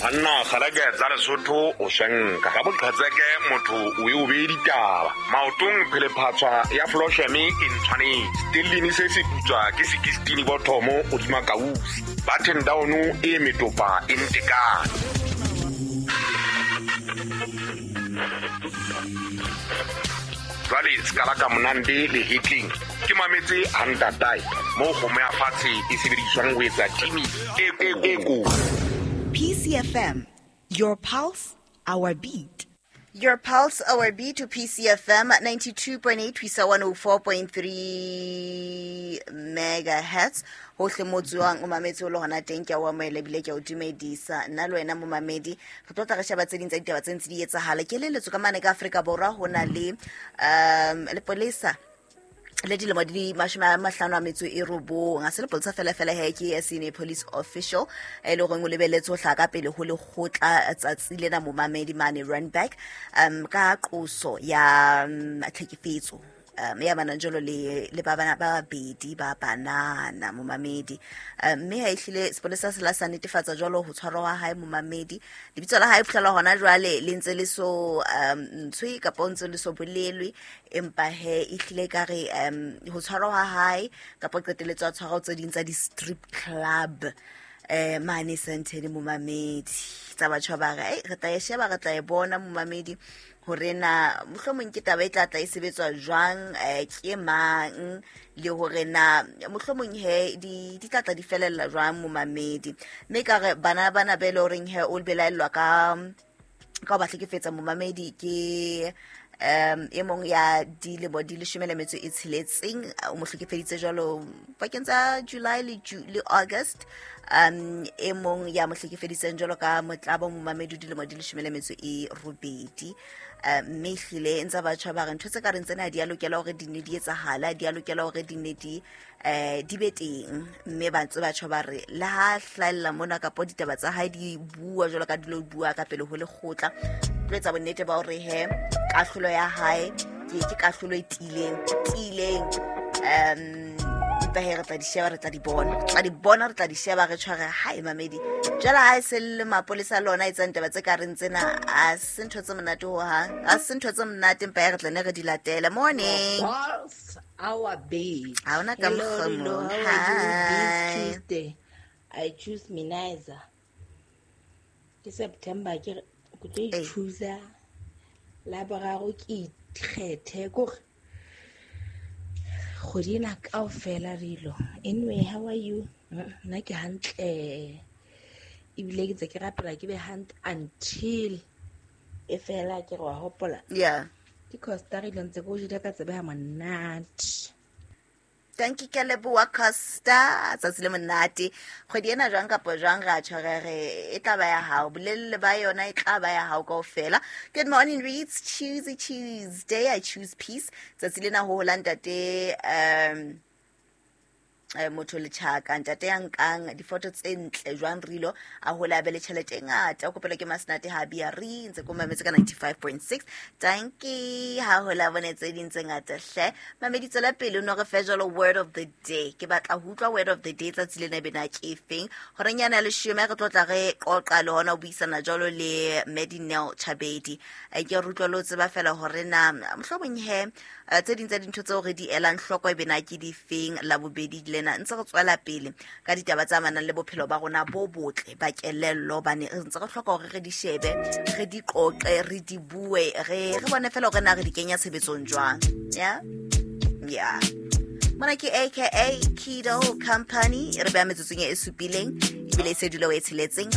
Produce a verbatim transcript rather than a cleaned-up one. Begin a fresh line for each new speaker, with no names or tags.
Banna kgaleke tsa Lesotho o swenka ka boqhetseke motho o e o bee ditaba maotong phelephatswa ya flosheme e ntshwanetse stellini se se putswa ke sekistini bothomo hodima kausi button down e metopa e ntekane. Jwale ska la ka monande le hitling ke mametse hantatai mo kgomo ya fatshe e sebediswang ho etsa timi e e ko.
P C F M, your pulse, our beat. Your pulse, our beat to P C F M ninety-two point eight, one oh four point three megahertz. Hohle mo tswang o mametse o le hona teng ke a o amohela ebile ke a o dumedisa. Nna le wena momamedi re tlo tla re sheba tse ding tsa ditaba tse ntse di etsahala. Ke leletso ka mane ka Afrika Borwa ho na le um lepolesa le dilemo di mashome a mahlano a metso e robong. Ha se lepolesa fela fela he ke senior police official e le horeng o lebelletse ho hlaha ka pele ho lekgotla tsatsi lena momamedi mane Randburg um ka qoso ya tlhekefetso um ya manang jalo le le ba bana ba babedi ba banana momamedi. Mme ha ehlile sepolesa se la sa netefatsa jwalo ho tshwarwa ha hae momamedi. Lebitso la hae fihlela hona jwale le ntse le so um ntshwe kapa ntse le so bolelwe, empa he ehlile ka re um ho tshwarwa ha hae kapa qetelletso a tshwarwa tse ding tsa di-strip club eh mane Sandton momamedi. Tsa batho ba re re tla e sheba re tla e bona momamedi hore na mohlomong ke taba e tla tla e sebetswa jwang eh ke mang le hore na mohlomong he di di tla tla di felella jwang momamedi. Mme ka re bana bana be le horeng he o belaellwa ka ka ba hlekefetsa momamedi ke um e mong ya dilemo di leshome le metso e tsheletseng o mo hlekefeditse jwalo pakeng tsa July le le August. Um e mong ya mo hlekefeditseng jwalo ka motlabo momamedi dilemo di leshome le metso e robedi. Mme ehlile ntse batho ba re ntho tse ka reng tsena di a lokela hore di ne di etsahala, di a lokela hore di ne di eh di be teng. Mme ba ntse batho ba re le ha hlahella mona kapa ditaba tsa hae di bua jwalo ka dilo bua ka pele ho lekgotla, tlo etsa bonnete ba hore he kahlolo ya hae ke ke kahlolo e tiileng tiileng um ba he re tla di sheba re tla di bona tla di bona re tla di sheba re tshware hae mamedi. Jwale ha e se le mapolesa lona etsang taba tse ka reng tsena a se ntho tse monate ho hang, a se ntho tse monate empa re tla ne re di latele. Morning
pulse our beat.
Ha ona ka mokgomo.
Hi, Tuesday I choose Minaiza. Ke September ke ke tlo choose la boraro ke ikgethe kore kgwedi ena kaofela rilo. Anyway, how are you? Nna ke hantle ebile ke ntse ke rapela ke be hantle until e fela ke re wa hopola.
Yeah.
Ke Costa rilo ntse ke o jele ka tsebe ha monate.
Thank you ke leboha Costa tsatsi le monate. Kgwedi ena jwang kapa jwang ra tshware re e tla ba ya hao bolelele ba yona e tla ba ya hao kaofela. Good morning reads Tuesday Tuesday I choose peace. Tsatsi lena ho hola ntate um motho le tjhaka ntate ya nkang difoto tse ntle jwang rilo a hola be le tjhelete e ngata o kopela ke Masenate ha bia re ntse ko mametse ka ninety-five point six. Thank you ha hola bone tse ding tse ngata hle mamedi. Tswela pele o no re fe jwalo word of the day. Ke batla ho utlwa word of the day tsatsi lena bena ke efeng horeng yana leshome re tlo tla re qoqa le hona ho buisana jwalo le Medinel Chabedi. Ke re utlwa lo tseba fela hore na mohlomong he tse ding tsa dintho tseo re di elang hloko e bena ke difeng la bobedi le ntse re tswela pele ka ditaba tsa manang le bophelo ba rona bo botle ba kelello bane re ntse re hloka hore re di shebe re di qoqe re di bue re re bone fela hore na re di kenya tshebetsong jwang. Yeah yeah mona ke A K A Kido Company re beha metsotsong e supileng ebile e se dula o e tsheletseng.